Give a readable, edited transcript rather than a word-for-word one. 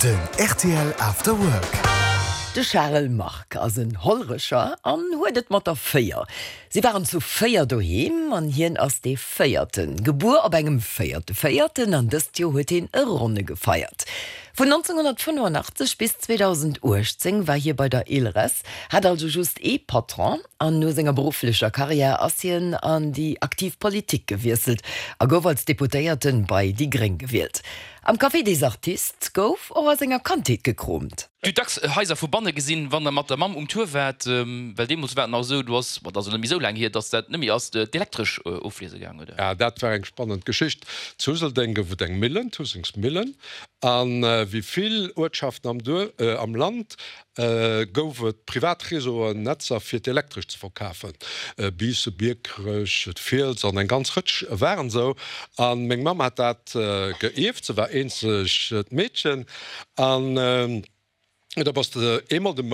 Den rtl After Work. De Charel Margue ass en Hollerecher an huet et mat der 4. Si waren zu 4 doheem an hien ass dee Véierten. Gebuer op engem véierte Véierten an dëst Joer huet hien e Ronne gefeiert. Vun 1985 bis 2018 war hie bei der ILRES, hat also just ee Patron an no senger berufflecher Karriär ass hien an déi aktiv Politik gewiesselt a gouf als Deputéierten bei déi Gréng gewielt. Am Café des Artistes gouf och a senger Kandheet gekromt. Dir hutt dacks Haiser vu banne gesinn, wann der mat der Mamm um Tour waart, well deemools war et nach esou, do ass, bon, dat ass elo net méi esou laang hier, datt dat net méi ass, d'Elektresch ofliese gaang, oder? Ja, dat war eng spannend Geschicht. Zu Useldeng gouf et eng Millen, d'Husengsmillen, a wéi vill Uertschaften am Duerf, am Land gouf et privat Réseauen, Netzer fir d'Elektresch ze verkafen. Biissen, Biekerech, d'Fiels an eng ganz Rëtsch waren esou. A meng Mamm hat dat geierft, se war eenzegt Meedchen. An da bass de eemol de.